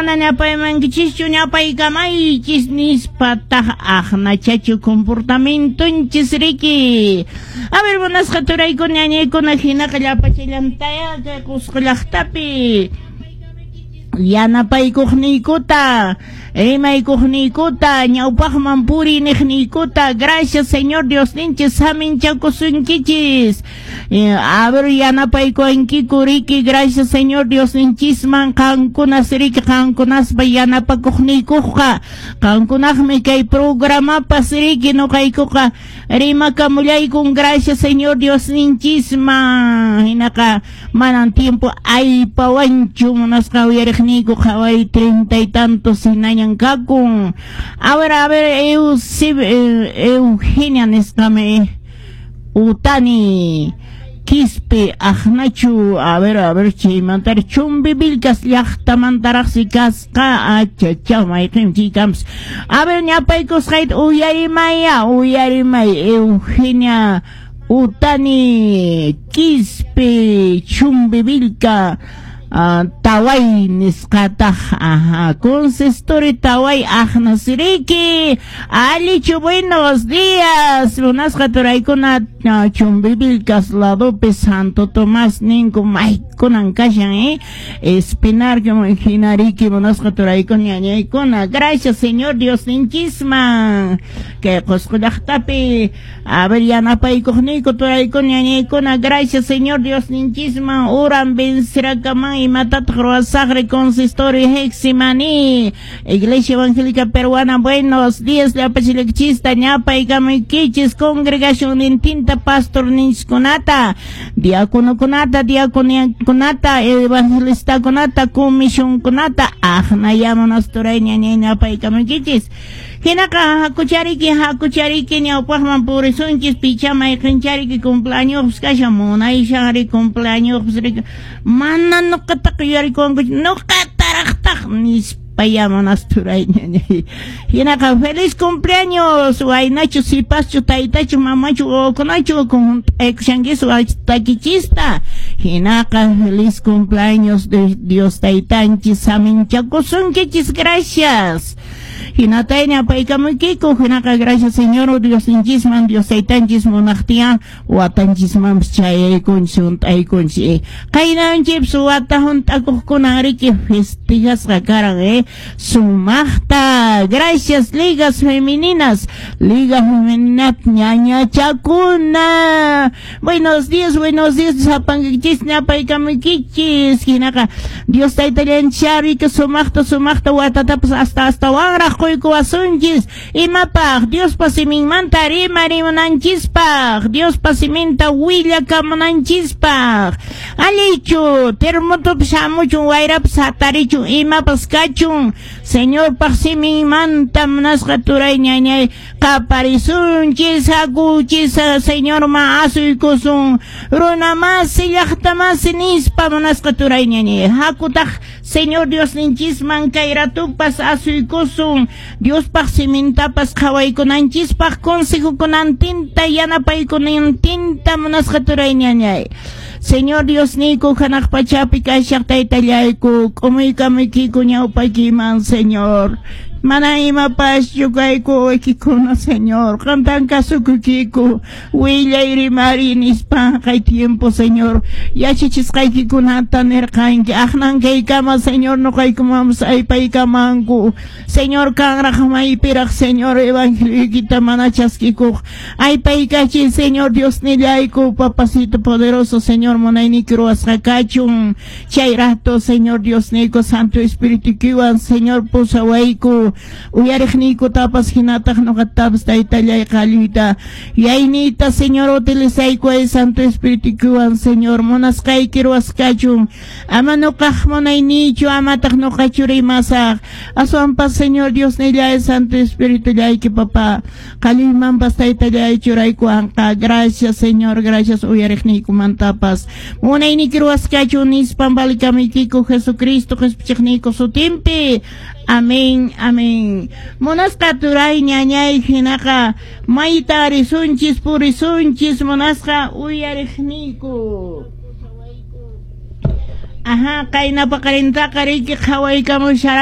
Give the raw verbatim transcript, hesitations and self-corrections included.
Mana ñapaymankichischu ñapaykamaychis nispataq aqnachachu comportamientonchis riki. A ver, munasqa turaykuna ñañaykuna, hinaqa llapachallantaya kay Qusqu llaqtapi yanapaykuqniykuta, rimaykuqniykuta, ñawpaqman puriy niqniykuta. Gracias, Señor Diosninchis saminchakusunkichis. A ver, yanapaykuwankiku riki. Gracias, Señor Diosninchisman qankunas riki, qankunaspa yanapakuqniykuqa, qankunaqmi kay programapas riki nuqaykuqa rimakamullaykun. Gracias, Señor Diosninchisman. Hinaqa manan tiempo aypawanchu, munasqa uyariqniyku, qhaway treinta y tantos hinañan kakun. A ver, a ver, Eugenia nisqami Utani Quispe aqnachu. A ver, a ver, chaymantari Chumbivilcas llaqtamantaraqsi kasqa. Achachaw, mayqin chaykampas. A ver, ñapaykusqayta uyarimaya, uyarimay. Eugenia Utani Quispe, Chumbivilca, Uh, taway nisqataq, ajá, consistorio Taway aqnasiriki. Allichu, buenos días, munasqa turaykuna. uh, Chumbivilcas ladopi Santo Tomás ninku maykunan kashan, eh Espinar hinariki, munasqa turaykuna ñañaykuna. Gracias, Señor Diosninchisman kay Qusqu llaqtapi, a ver, yanapaykuqniyku turaykuna ñañaykuna. Gracias, Señor Diosninchisman. Uran vencerakaman imatataq ruwasaqri. Consistorio Getsemaní, Iglesia Evangélica Peruana, buenos días, llapachilakchista ñapaykamuykichis, congregación nintinta, pastor ninchiskunata, diáconokunata, diaconiakunata, evangelistakunata, comisionkunata, aqnayamunas turay ñañay ñapaykamuykichis. Hinaqa hakuchariki, hakuchariki, ñawpaqman purisunchis. Picha mayqinchariki cumpleaños kashan, munayshari cumpleaños riki, mana nuqataqa yuyarikunkuchu, nuqataraqtaq nispa yamunas turay ñañay. Hinaqa feliz cumpleaños, waynachu, sipaschu, taytachu, mamachu, wawakunachu hunt'aykushankis takichista. Hinaqa feliz cumpleaños de Dios taytanchis saminchakusunkichis. Gracias. Hinatay ñapaykamuykiku. Hinaqa gracias, Señor Diosninchisman. Dios taytanchis munaqtiyan watanchismanpas chayaykunchis, hunt'aykunchis. Qaynanchipis wata hunt'akuqkunan riki festejasqa karan, eh sumaqta. Gracias, ligas femeninas, liga femenina ñañachakuna, buenos días, buenos días, sapankichis ñapaykamuykichis. Hinaqa Dios taytallanchis riki sumaqta sumaqta watatapas hasta astawanraq quykuwasunchis. Imapaq? Diospa siminmanta rimarimunanchispaq, Diospa siminta willakamunanchispaq. Allichu, terremotopas hamuchun, wayrapas hatarichun, imapas kachun, Señorpaq siminmanta, munasqa turay ñañay, qaparisunchis. Hakuchis, Señorman asuykusun, runa masi, llaqta masi nispa. Munasqa turay ñañay, hakutaq Señor Diosninchisman kay ratupas asuykusun, Diospaq simintapas qhawaykunanchispaq, consejokunantinta, yanapaykunantinta. Munasqa turay ñañay, Señor Diosniyku, hanaq pachapi kashaq taytallayku, k'umuykamuykiku ñawpaykiman, Señor. Mana imapaschu kayku waykikuna, Señor. Qamtan kasukuykiku. Willay, rimari nispa kay tiempo, Señor. Yachachisqaykikunata nirqanki. Aqnan kaykama, Señor, nuqaykumanpas aypaykamanku. Señor, kanraq maypiraq, Señor, evangelioykita mana chaskikuq. Aypaykachiy, Señor Diosnillayku, papacito poderoso, Señor, munayniyki ruwasqa kachun. Chay rato, Señor Diosniyku, Santo Espíritu, Señor, pusawayku. Uyariqniykutapas hinataq nuqatapas, taytallay, qalluyta yayniyta, Señor, utilizayku ay Santo Espirituwan, Señor, munasqayki ruwasqachun. Ama nuqaq munayniychu, amataq nuqachu rimasaq, aswanpas, Señor Diosnillay, Santo Espiritullayki, papá, qalluymanpas, taytallay, churaykuwanqa. Gracias, Señor, gracias uyariqniykumantapas. Munayniyki ruwasqachun nispan valikamuykiku Jesucristo qhispichiqniyku sutinpi. Amén, amén. Munasqa turay ñañay, hinaqa mayta risunchis, purisunchis, munasqa uyariqniyku. Ajá, qayna paqarintaqa riki qhawaykamusharan.